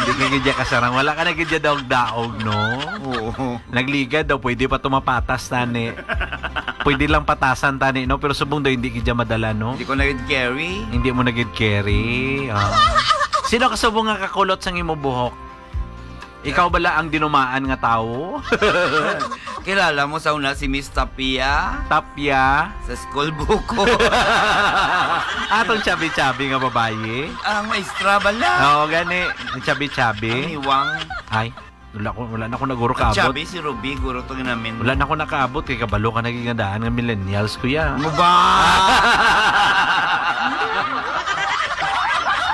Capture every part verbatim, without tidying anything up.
Di ka gid ya kasarang. Wala ka na gid ya daog-daog, no? Oo. Nagligad daw, pwede pa tumapatas tani. Pwede lang patasan tani, no? Pero subong daw, hindi gid ya madala, no? Hindi ko na gid carry. Hindi mo na gid carry. Ah. Sino ka subong nga kakulot sang imo buhok? Ikaw bala ang dinumaan nga tawo? Kilala mo sa una si Miss Tapia? Tapia? Sa school buko. Atong chubby-chubby nga babayi? Ang maestra bala. Oo, gani. Ang chubby-chubby. Ang hiwang. Ay, wala ko, wala na ko naguro Ang kaabot. Chubby si Ruby, guro to namin. Wala na ko nakaabot kay kabalo ka naging nga millennials, kuya. Ano ba?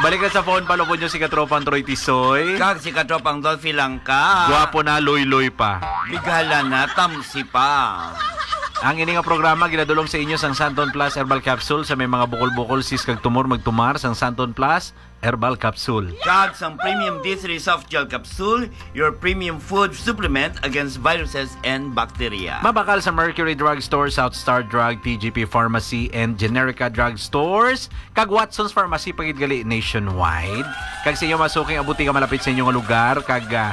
Balik na sa phone, palubon nyo si Katropang Troy Tisoy. Kag si Katropang Dolphy lang ka. Gwapo na, loy-loy pa. Bighala na, tamsi pa. Ang ini nga programa ginadulong sa inyo sang Santon Plus Herbal Capsule. Sa may mga bukol-bukol, sis kag tumor, magtumar sang Santon Plus Herbal Capsule. Kag sang Premium D three Soft Gel Capsule, your premium food supplement against viruses and bacteria. Mabakal sa Mercury Drug Store, South Star Drug, T G P Pharmacy, and Generica Drug Stores, kag Watson's Pharmacy, pagid gali nationwide. Kag sa inyo masuking abuti nga malapit sa inyo nga lugar, kag, ah,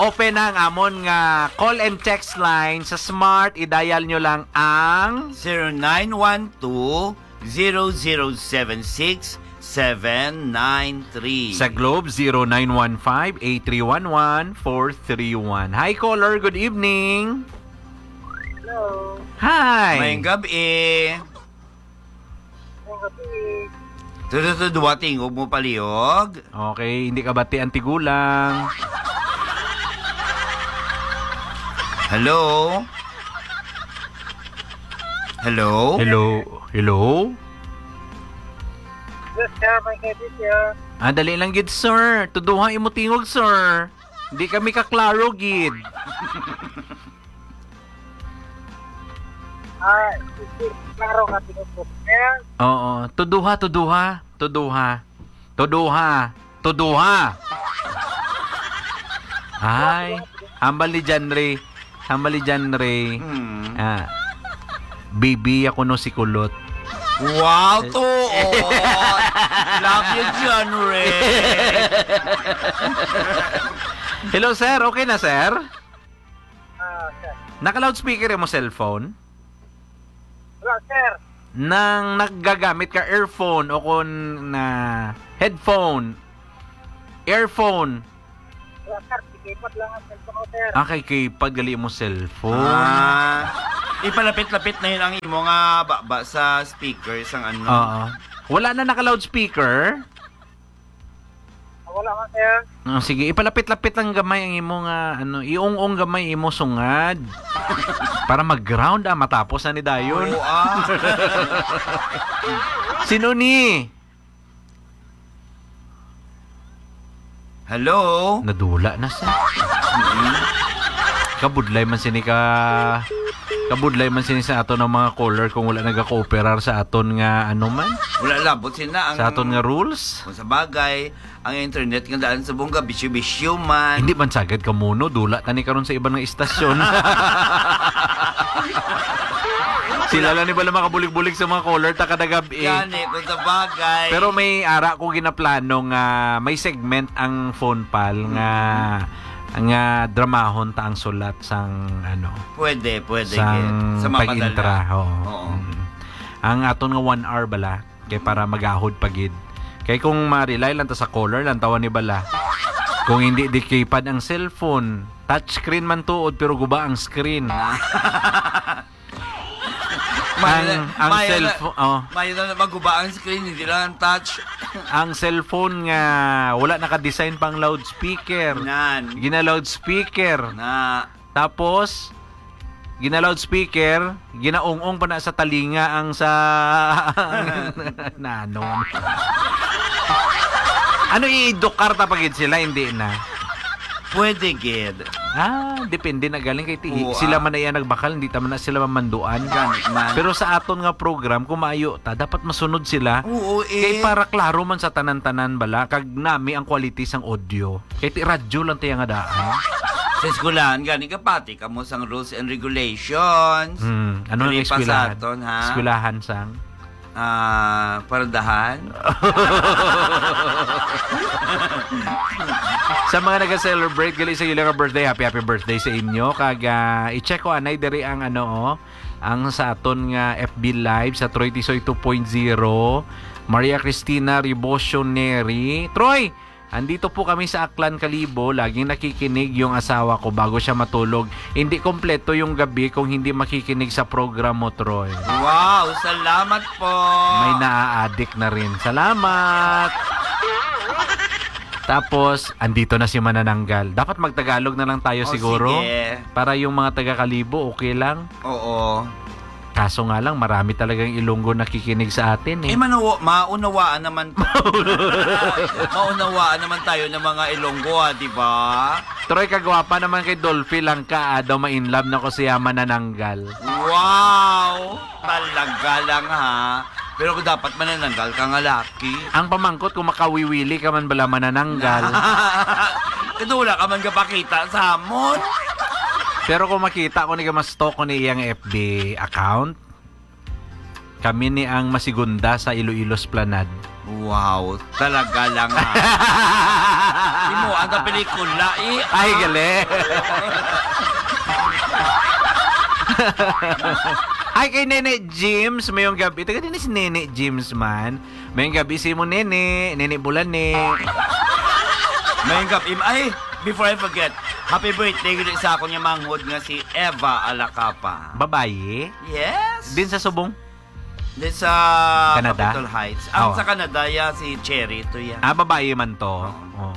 open na ang amon nga call and text line sa Smart. I-dial nyo lang ang zero nine one two, zero zero seven six, seven nine three. Sa Globe, zero nine one five, eight three one one, four three one. Hi, caller. Good evening. Hello. Hi. Mayong gabi. Mayong gabi. Tudo, tudo, duwa, tingog mo palihog. Okay, hindi ka bati ang tigulang. Hello? Hello? Hello? Hello? Yes, sir. May credit, sir. Ah, dali lang gid, sir. Tuduha imo tingog, sir. Di kami kaklaro gid. Ah, sige. Klaro ka, tingog ko, sir. Oo. Tuduha, tuduha. Tuduha. Tuduha. Tuduha. Ay, hambal ni John Ray. Hambal ni John Ray. Hmm. Ah, bibi ako no si Kulot. Wow, tuod. Love you, John Ray. Hello, sir. Okay na, sir? Ah, sir. Naka-loudspeaker mo cellphone? Wala, sir. Nang naggagamit ka earphone o kon na headphone, earphone? Wala, sir. Keypad lang ang cellphone ko, sir. Ah, kay keypad gali mo cellphone. Ah, ipalapit-lapit na yun ang imo nga baba sa speaker sang ano. Oo. Wala na naka-loudspeaker? Ah, wala man, sir. Oh, sige, ipalapit-lapit lang gamay ang imo nga, ano, iung-ung gamay imo sungad. Para mag-ground, ah, matapos na ni dayon. Oo, ah. Sino ni? Hello? Nadula na siya. Mm-mm. Kabudlay man sini ka, kabudlay man sini sa aton ang mga caller kung wala nagakooperar sa aton nga ano man. Wala labot sila ang Sa aton nga rules. Kung sa bagay, ang internet nga daan sa bungga, bisyo-bisyo man. Hindi man sagad ka muno, dula tani karon sa iban nga istasyon. Sila lang ni bala makabulig-bulig sa mga caller ta kada gab-i. Gani, kung sa bagay. Pero may ara ko ginaplano nga may segment ang phone pal nga, Mm. nga dramahon ta ang sulat sang ano, Pwede, pwede, sang gid. Sa mapadala. pag-intra, oo. Oo. Mm. Ang aton nga one hour bala, kay para magahod pa gid. Kay kung ma-rely lang ta sa caller lang, tawa ni bala. Kung hindi di keypad ang cellphone, touchscreen man tuod, pero guba ang screen. May Ang, na, ang may na, cellphone, oh. may na maguba ang screen, hindi lang ang touch. Ang cellphone nga wala naka-design pang loudspeaker. Nan. Gina-loudspeaker. Na. Tapos, gina-loudspeaker, ginaung-ung pa na sa talinga ang sa, na ano. Ano, i-edukar ta pa gid sila? Hindi na. Pwede gid. Ah, depende na galing kay ti-, Oo, sila ah. man na iya nagbakal, hindi ta man na sila mamanduan. Gani man. Pero sa aton nga program, kung maayo ta, dapat masunod sila. Oo, eh. Kay para klaro man sa tanan-tanan bala, kag nami ang quality sang audio. Kay ti radyo lang tiya nga daan. Sa eskwelahan, gani kapati kamo sang rules and regulations. Hmm, ano ang Dili pa sa eskwelahan? aton, ha? Eskwelahan sang? Ah, paradahan? Sa mga nag-celebrate gali sa ila nga birthday, happy, happy birthday sa inyo. Kag, ah, i-check ko, anay, diri ang, ano, oh, ang sa aton nga F B Live sa Troy Tisoy two point zero. Maria Cristina Rebocio Neri. Troy, andito po kami sa Aklan, Kalibo. Laging nakikinig yung asawa ko bago siya matulog. Hindi kompleto yung gabi kung hindi makikinig sa program mo, Troy. Wow, salamat po. May naaadik na rin. Salamat! Tapos, andito na si Manananggal. Dapat magtagalog na lang tayo Oh, siguro. Sige. Para yung mga taga-Kalibo, okay lang. Oo. Kaso nga lang, marami talagang Ilonggo nakikinig sa atin eh. Eh, manawa, maunawaan naman to. Maunawaan naman tayo ng mga Ilonggo, ah, di ba? Troy, kagwapa naman kay Dolphy lang ka, ah, daw ma-in love na ko siya Manananggal. Wow! Talaga lang, ha? Pero kung dapat Manananggal ka nga laki. Ang pamangkot kung makawiwili ka man bala Manananggal. Kasi wala ka man gapakita sa amon. Pero kung makita ko ni ka ma-stalk ko ni iyang F B account, kami ni ang masigunda sa Iloilo Esplanade. Wow, talaga lang, ha? Imo ang pelikula, eh. Ay, gali. Ay, kay Nene James, mayong gabi. Taga din si Nene James man. Mayong gabi si mo, Nene. Nene Bulani. Mayong gabi. Ay, before I forget, happy birthday gid sa akong manghod nga si Eva Alacapa. Babayi? Yes. Din sa Subong? Din sa Canada? Capitol Heights. Ang Oh. Sa Canada, ya si Cherry to, ya. Ah, babayi man to. Oh.